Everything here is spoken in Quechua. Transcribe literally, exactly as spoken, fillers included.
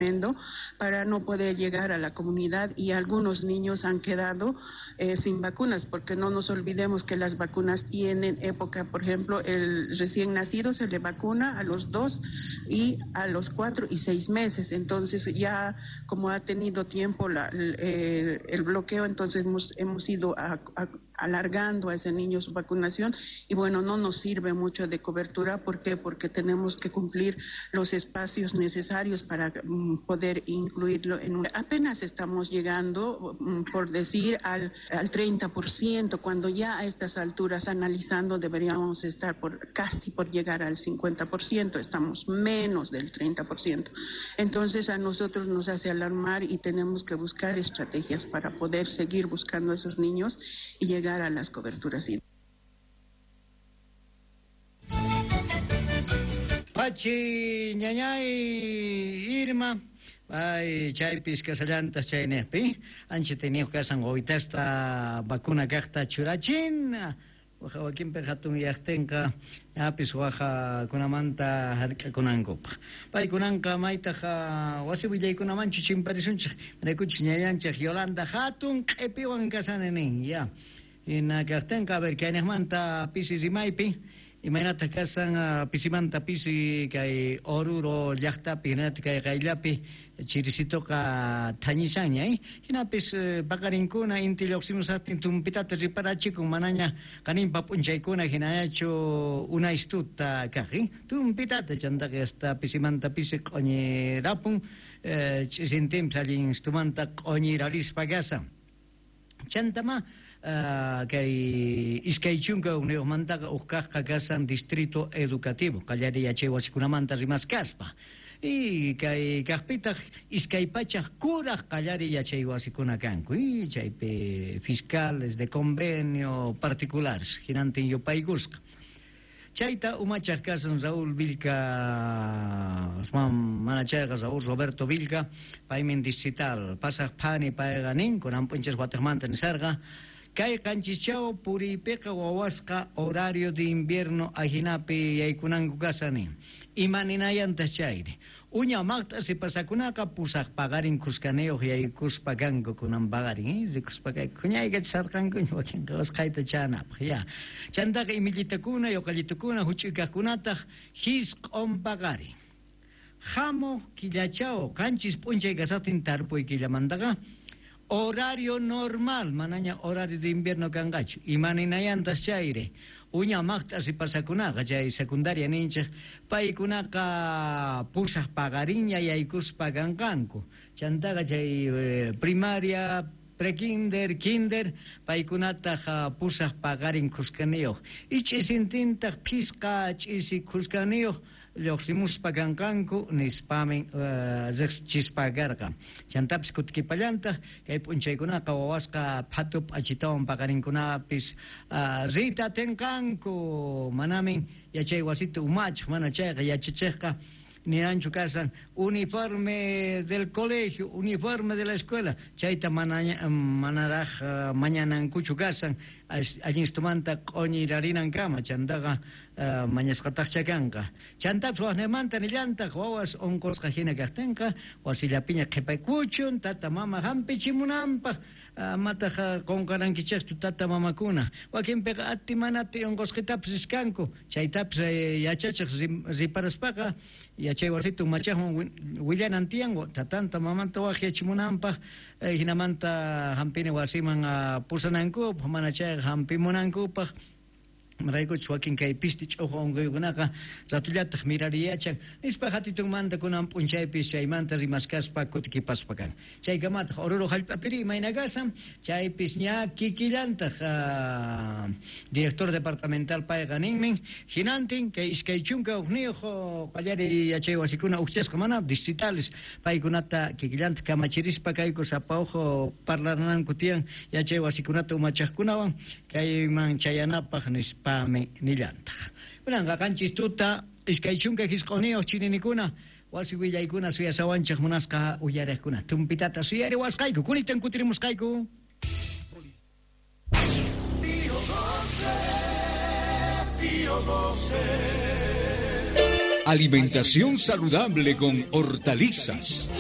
tremendo para no poder llegar a la comunidad, y algunos niños han quedado eh, sin vacunas, porque no nos olvidemos que las vacunas tienen época. Por ejemplo, el recién nacido se le vacuna a los dos y a los cuatro y seis meses. Entonces ya como ha tenido tiempo la, el, eh, el bloqueo, entonces hemos, hemos ido a, a, alargando a ese niño su vacunación, y bueno, no nos sirve mucho de cobertura. ¿Por qué? Porque tenemos que cumplir los espacios necesarios para mm, poder incluirlo en un... Apenas estamos llegando, mm, por decir, al, al treinta por ciento, cuando ya a estas alturas, analizando, deberíamos estar por casi por llegar al cincuenta por ciento, estamos menos del treinta por ciento. Entonces a nosotros nos hace alarmar y tenemos que buscar estrategias para poder seguir buscando a esos niños y llegar a las coberturas. Pachi, ñañay, Irma, ay, chaypis kasallantas chaynejpi, ancha teniq kasan wawitasta vacuna kaqta churachin, waja wakinpi hatun yaqtinqa apis waja kunamanta hark'akunankupaq. Paykunanqa maytaq wasi willaykunamanchu chimparisunchik, maraykuchis ñañanchik Yolanda hatun q'ipiwan kasani nin, ya. Hina kaqtinqa, a ver, kaynejmanta pisi rimaypi, imaynataq kasan pisimanta pisi kay Oruro llaqtapi, hinataq kay qayllapi chirisitoqa thañishaña, eh? Hinapis paqarinkuna inti lluqsimusaqtin tumpitata riparachikun, manaña qaninpa p'unchaykuna hinañachu unaystuta kaq, eh? Tumpitata chantaqa hasta pisimanta pisi q'uñirapun, eh, ch'isintinpis allin istumanta q'uñirarispa kasan. Chantama Uh, kay iskay chunka hukniyuqmantaqa huk kaqqa kasan distrito educativo qallariy yachay wasikunamanta rimaskaspa, y kay kaqpitaq iskay pachaq kuraq qallariy yachay wasikuna kanku, y chaypi fiscales de convenio particulares hinantin yupaykusqa. Chayta umachaq kasan Raúl Vilca, mana chayqa Raúl Roberto Vilca, paymin distrital pasaq phani payqa nin kunan p'unchas wataqmanta nisarqa kay qanchischaw puriypiqa wawasqa horario de invierno ajinapi yaykunanku kasani. Imaninayantaq chayri? Uña maqt'a sipasakunaqa pusaq paqarin kuskaniyuq yaykuspa kanku kunan paqarin, eh? Rikuspa kayku huñaykachisarqankuña wakinqa usqhayta chanapaq, ya. Chantaqa imillitakuna, yuqallitukuna, huch'uykaqkunataq hisq'un paqarin. Hamuq killachaw qanchis p'unchay kasaqtin tarpuy killamantaqa horario normal, manaña horario de invierno kanqachu. Imaninayantas chayri? Uña maqt'a sipasakunaqa chay secundaria ninchik paykunaqa pusaq paqarinña yaykuspa kanqanku. Chantaqa chay eh, primaria, prekinder, kinder, paykunataq pusaq paqarin kuskaniyuq. Y ch'isintintaq phisqa ch'isi kuskaniyuq lluqsimuspa kanqanku nispamin uh, riqsichispa karqa. Chantapis kutikipallantaq kay p'unchaykunaqa wawasqa phatu p'achitawan paqarinkunapis uh, rita tinqanku, manamin yachay wasita umachaq, mana chayqa yachachiqqa ninanchu kasan uniforme del colegio, uniforme de la escuela, chayta manaña, manaraj uh, mañanankuchu kasan allinstumanta q'uñirarinankama, chantaqa uh, mañasqataqcha kanqa. Chantapis waqnimanta nillantaq wawas unqusqa hina kaqtinqa wasillapiña qhipaykuchun tata mama hampichimunanpaq, amataq qunqarankichikchu tata mamakuna. Wakinpiqa ati manati unqusqitapis riskanku, chaytapis yachachiq riparaspaqa yachay wasita umachaqman willanan tiyan tatanta mamanta waqyachimunanpaq, hinamanta hampina wasiman pusanankupaq, mana chayqa hampimunankupaq. Maraykuchus wakin kay pisti ch'uqu unquykunaqa ratullataq mirariyachan nispa hatitunmanta kunan p'unchaypis chaymanta rimaskaspa kutikipaspa kan. Chaykamataq Oruro hallp'apiri imayna kasan chaypis ña kikillantaq uh, director departamental payqa ninmin hinantin kay iskay chunka hukniyuq qallariy yachay wasikuna ukchasqa mana distritales paykunata kikillantaq kamachirispa kayku sapa uhu parlananku tiyan yachay wasikunata umachaqkunawan kayman chayanapaq nispa pame nillantaq. Kunanqa qanchis tuta iskay chunka hisq'uniyuq chininikuna wasi willaykuna suyasawanchik munasqa uyariqkuna tumpitata suyariwasqayku kunitan kutirimusqayku. Pío doce, Pío doce. Alimentación saludable con hortalizas.